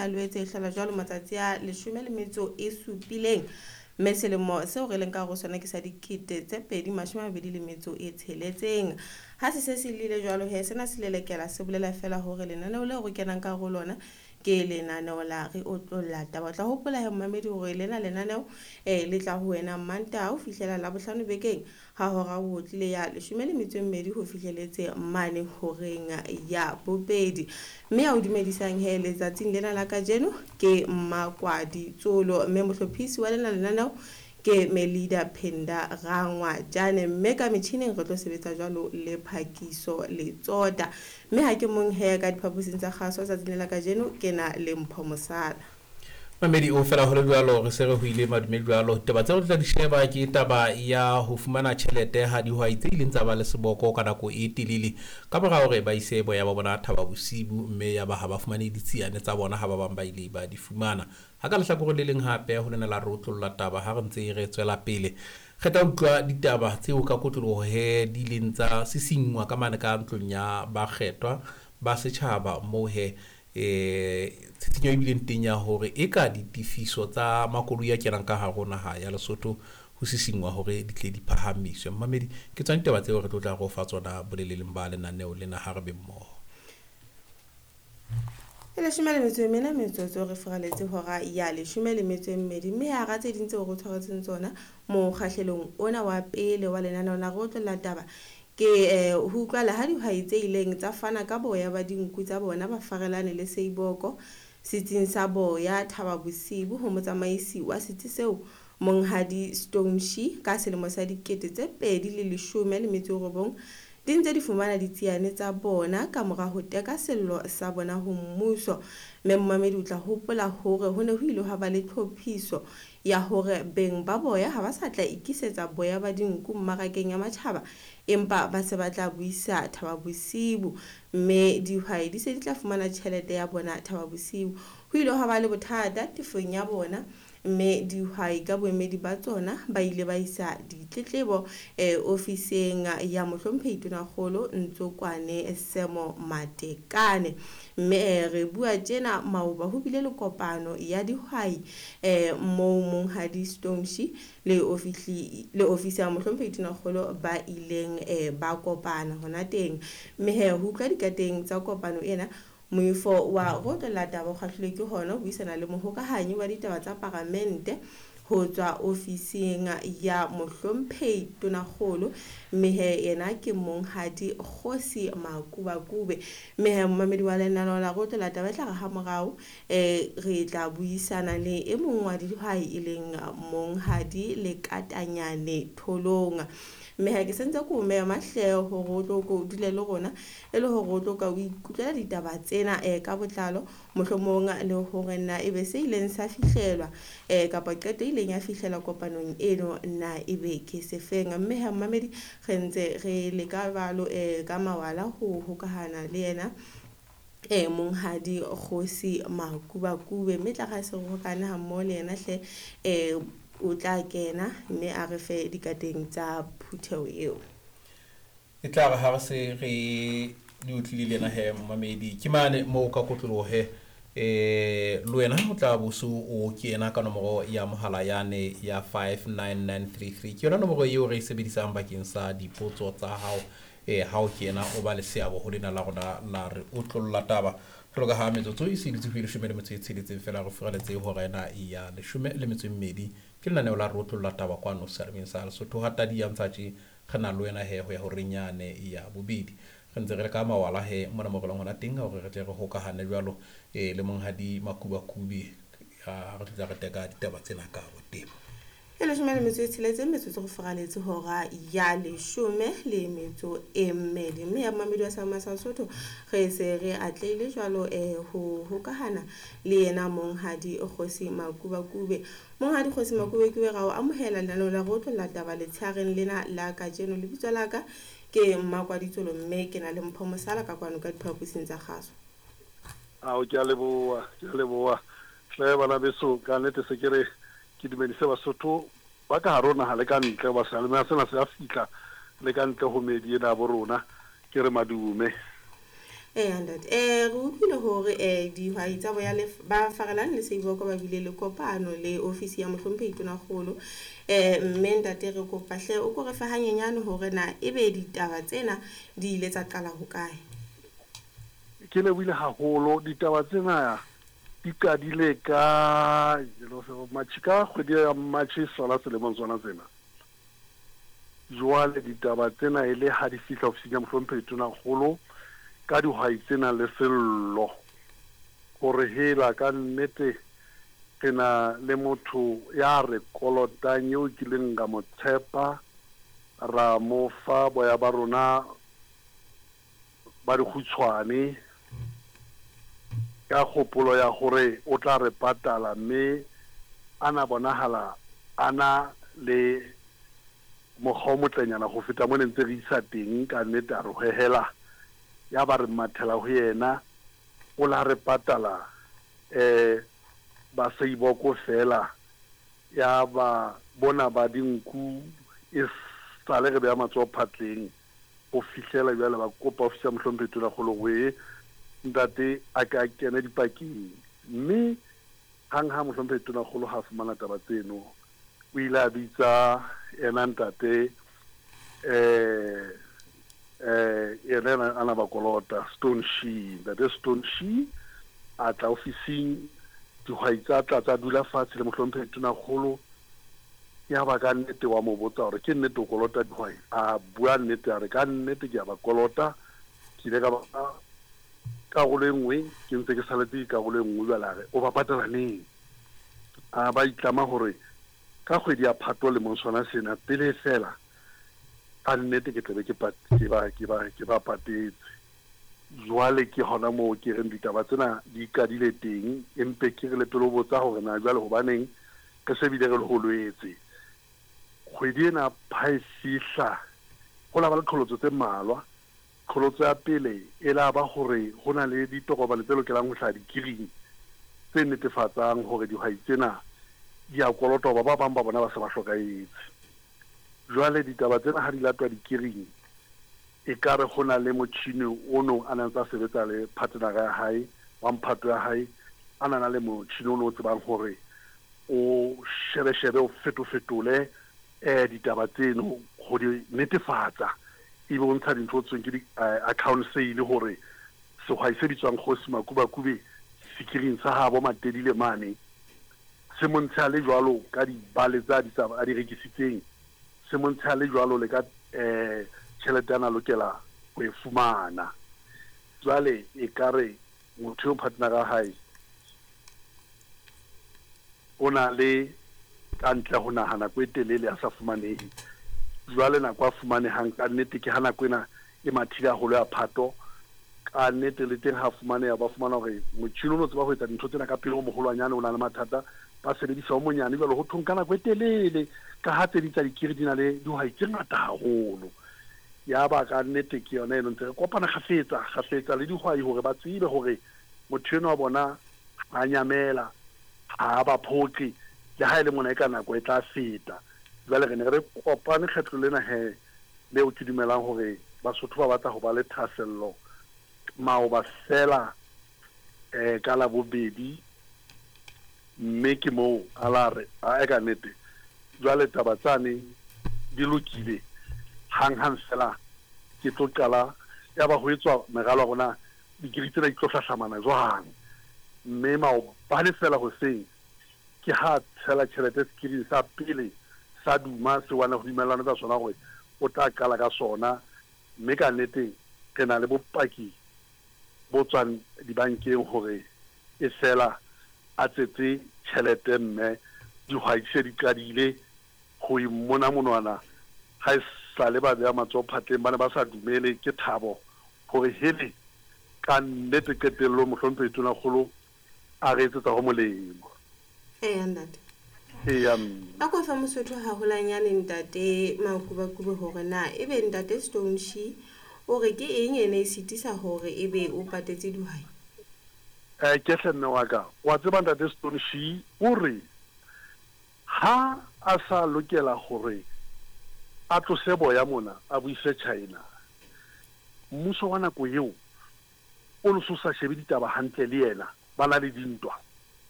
ya Loetse e hlola jwalo matsatsi a leshome le metso e supileng, mme selemo seo re leng ka hare ho sona ke sa 2026. Ha se se se lile jwalo he, sena se lelekela se bolela fela hore lenaneo leo re kenang ka hare ho lona ke lenaneo la Re Otlolla Taba. O tla hopola he momamedi hore lena lenaneo le tla ho wena Mantaha ho fihlela Labohlano bekeng ha hora ho tlile ya 12 ho fihleletse mane horeng ya bobedi. Mme ya o dumedisang he letsatsing lena la kajeno ke Mmakwadi Tsolo, mme mohlophisi wa lena lenaneo ke Melida Phenda Rangwa Jane, mme ka metjhining re tlo sebetsa jwalo le Phakiso Letsota. Mme ha ke mong he ka diphaposing tsa kgaso tsatsing la kajeno ke na le Mpho Mosala. Mamedi o fela ho le jwalo, re se re ho ile madume jwalo. Taba tseo re tla di sheba ke taba ya ho fumana tjhelete ha dihwai tse ileng tsa ba le seboko ka nako e telele ka mora hore ba ise boya ba bona Thaba Bosibu, mme ya ba ha ba fumane ditsiane tsa bona ha ba bang ba ile ba di fumana. Ha ka lehlakoreng le leng hape ho lena la re otlolla taba ha re ntse re tswela pele, re tla utlwa ditaba tseo ka kotloloho he di ileng tsa sisinngwa ka mane ka ntlong ya bakgethwa ba setjhaba, moo he tshitshinyo e bileng teng ya hore eka ditefiso tsa makoloi a kenang ka hare ho naha ya Lesotho ho sisinngwa hore di tle di phahamiswe. Mmamedi, ke tsona ditaba tseo re tlo tla re o fa tsona boleleleng ba lenaneo lena ha re be mmoho. E 14 metsotso re furaletse hora ya 12, mme hara tse ding tseo re tshwaretseng tsona mokgahlelong ona wa pele wa lenaneo la Re Otlolla Taba ke ho utlwala ha dihwai tse ileng tsa fana ka boya ba dinku tsa bona ba farelane le Seiboko setsing sa boya Thaba Bosibu ho motsamaisi wa setsi seo Monghadi Stoneshi ka selemo sa 2019 di ntse di fumana ditsiane tsa bona ka mora ho teka sello sa bona ho mmuso. Mme momamedi o tla hopola hore ho ne ho ile hwa ba le tlhophiso ya hore beng ba boya ha ba sa tla ikisetsa boya ba dinku mmarakeng ya matjhaba, empa ba se ba tla buisa Thaba Bosibu, mme dihwai di se di tla fumana tjhelete ya bona Thaba Bosibu. Ho ile hwa ba le bothata tefong ya bona, mme dihwai ka boemedi ba tsona ba ile ba isa ditletlebo ofising ya mohlomphehi Tonakgolo Ntsokwane Semo Matekane. Mme re bua tjena maoba ho bile le kopano ya dihwai moo Monghadi Stoneshi le ofisi ya mohlomphehi Tonakgolo ba ileng ba kopana hona teng. Mme he ho utlwa dikateng tsa kopano ena, moifo wa Re Otlolla Taba o kgahlilwe ke hona ho buisana le mohokahanyi wa ditaba tsa paramente ho tswa ofising ya mohlomphehi Tonakgolo, mme he yena ke Monghadi Kgosi Makubakube. Mme he momamedi wa lenaneo la Re Otlolla Taba e tla re ha morao re tla buisana le e mong wa dihwai e leng Monghadi Lekatanyane Tholong. Mme ha ke sentse ko mema hle hore o tlo ko dule le rona e le hore o tlo ka o ikutlwela ditaba tsena ka botlalo, mohlomong le hore na ebe se ileng sa fihlelwa kapa qeto e ileng ya fihlela kopanong eno na ebe ke sefeng. Mme ha mmamedi re ntse re leka jwalo ka mawala ho hokahana le yena Monghadi Kgosi Makubakube, mme tla re se re hokane ha mmoho le yena hle o tla kena mme a re fe dikateng tsa phutheho eo. E tla re ha re se re di utlwile le yena he momamedi, ke mane moo ka kotloloho he le wena o tla bo so o kena ka nomoro ya mohala yane ya 59933. Ke yona nomoro eo re e sebedisang bakeng sa dipotso tsa hao ha o kena o ba le seabo ho lena la rona la Re Otlolla Taba. Jwalo ka ha metsotso e se dutse ho 16 fela re furaletse hora ena ya 12, ke lenaneo la Re Otlolla Taba kwano seyalemoyeng sa Lesotho. Ha tadi ya ntsha tje re na le wena he ho ya horeng yane ya bobedi. Re ntse re le ka mawala he mona mo re leng hona teng hore re tle re hokahane jwalo le Monghadi Makubakube ha re tla re teka ditaba tsena ka botebo. E 16 metsotso go furaletse hora ya 12. Mme ya momamedi wa Sama sa Sotho re se re atlehile jwalo ho hokahana le yena Monghadi Kgosi Makubakube. Monghadi Kgosi Makubakube, ra o amohela lenaneo la Re Otlolla Taba letsheareng lena la kajeno. Lebitso la ka ke Mmakwaditsolo, mme ke na le Mpho Mosala ka kwano ka diphaposing tsa kgaso. Ao, ke a leboha, ke a leboha. Hle bana beso, ka nnete se ke re ke dumedise Basotho ba ka hare ho naha le ka ntle, hoba seyalemoya sena se a fihla le ka ntle ho meedi ena ya bo rona. Ke re madume. Eya ntate, re utlwile hore dihwai tsa boya ba Farelang le Seiboko ba bile le kopano le ofisi ya mohlomphehi Tonakgolo. Mme ntate re kopa hle o ko re fe hanyenyane hore na ebe ditaba tsena di ile tsa qala hokae. Ke lebohile haholo. Ditaba tsena di qadile ka March, ka kgwedi ya March sona selemong sona sena. Jwale ditaba tsena e le ha di fihla ofising ya mohlomphehi Tonakgolo ka dihwai tse nang le sello hore hela ka nnete re na le motho ya re kolotang eo kileng ra mo tshepa ra mo fa boya ba rona ba dikgutshwane ka kgopolo ya hore o tla re patala mme a na bonahala a na le mokgwa o motlenyana go feta mo ne ntse re isa teng. Ka nnete a re hwehela, ya ba re mathela ho yena, o la re patala ba Seiboko fela, ya ba bona ba dinku e sale re beya matsoho phatleng ho fihlela jwale. Ba kopa ofisi ya mohlomphehi Tonakgolo hore ntate a ke a kene dipakeng, mme hang ha mohlomphehi Tonakgolo ha fumana taba tseno, o ile a bitsa ena ntate yena ana ba kolota Stone Shee. Ntate Stone Shee a tla ofising, dihwai tsa tla tsa dula fatshe le mohlomphehi Tonakgolo. Ya ba ka nnete wa mo botsa hore ke nnete o kolota dihwai, a bua nnete a re ka nnete ke a ba kolota, ke ile ka ba karolo e nngwe, ke ntse ke saletse karolo e nngwe. Jwale a re o ba patala neng? A ba itlama hore ka kgwedi ya Phato lemong sona sena pele fela, ka nnete ke tlabe ke ba patetse. Jwale ke hona moo ke reng ditaba tsena di qadile teng, empe ke re le pele o botsa hore na jwale hobaneng re se bile re le holwetse. Kgwedi ena ha e fihla ho la ba le qholotso tse mmalwa. Qholotso ya pele e la ba hore ho na le ditokomane tse lokelang ho hlaha dikiring tse netefatsang hore dihwai tsena di a kolota, hoba ba bang ba bona ba se ba hlokahetse. Jwale ditaba tsena ha di latwa dikiring, ekare ho na le motjhini o no a nang tsa sebetsa le partner ya hae wa mphato ya hae, a na le motjhini o no tsebang hore o shebe-shebe o feto-fetole ditaba tseno ho di netefatsa, ebe o ntsha dintho tsweng ke di-account sale hore sehwai se bitswang Kgosi Makubakube sekiring sa habo Matedile mane se mo ntshe a le jwalo ka dibale tsa a di rekisitseng, se mo ntshe a le jwalo le ka tjhelete a na lokela ho e fumana. Jwale ekare motho eo partner ya hae o na le ka ntle ho naha nako e telele a sa fumanehe. Jwale nako a fumanehang ka nnete ke ha nako ena e mathile haholo ya Phato. Ka nnete le teng ha fumaneha, ba fumana hore motjhini o no tseba ho etsa dintho tsena ka pele o moholwanyane o na le mathata, ba sebedisa o monyane. Jwale ho thong ka nako e telele ka ha tse ding tsa dikiri di na le dihwai tse ngata haholo. Ya ba ka nnete ke yona eno ntse re kopana kgafetsa kgafetsa le dihwai hore ba tsebe hore motho enwa wa bona ha nyamela, ha ba phoqe, le ha e le mona e ka nako e tla feta. Jwale re ne re kopane kgetlo lena he leo ke dumelang hore Basotho ba batla ho ba le thahasello maoba fela ka Labobedi, mme ke moo a la re a ka nnete jwale taba tsane di lokile hang-hang fela ke tlo qala. Ya ba ho etswa meralo ya rona dikiri tsena di tlo hlahlamana jwang, mme maobane fela hoseng ke ha tshela tjhelete sekiring sa pele sa Duma se wana ho dumellana ka sona hore o tla qala ka sona. Mme ka nnete re na le bopaki bo tswang dibankeng hore e fela a tsetse tjhelete, mme dihwai di se di qadile ho imona monwana. Ha e sale ba beha matsoho phatleng, ba ne ba sa dumele ke thabo hore hele ka nnete qetellong mohlomphehi Tonakgolo a re etsetsa ho molemo. Eya ntate. Eya mme. A ko fa Mosotho haholwanyane ntate Makubakube hore na ebe ntate Stone Shee o re ke eng e ne e sitisa hore ebe o patetse dihwai? Ke hle mme wa ka, wa tseba ntate Stone Shee o re ha a sa lokela hore a tlose boya mona a bo ise China, mmuso wa nako eo O no so sa shebe ditaba hantle le yena, ba na le dintwa.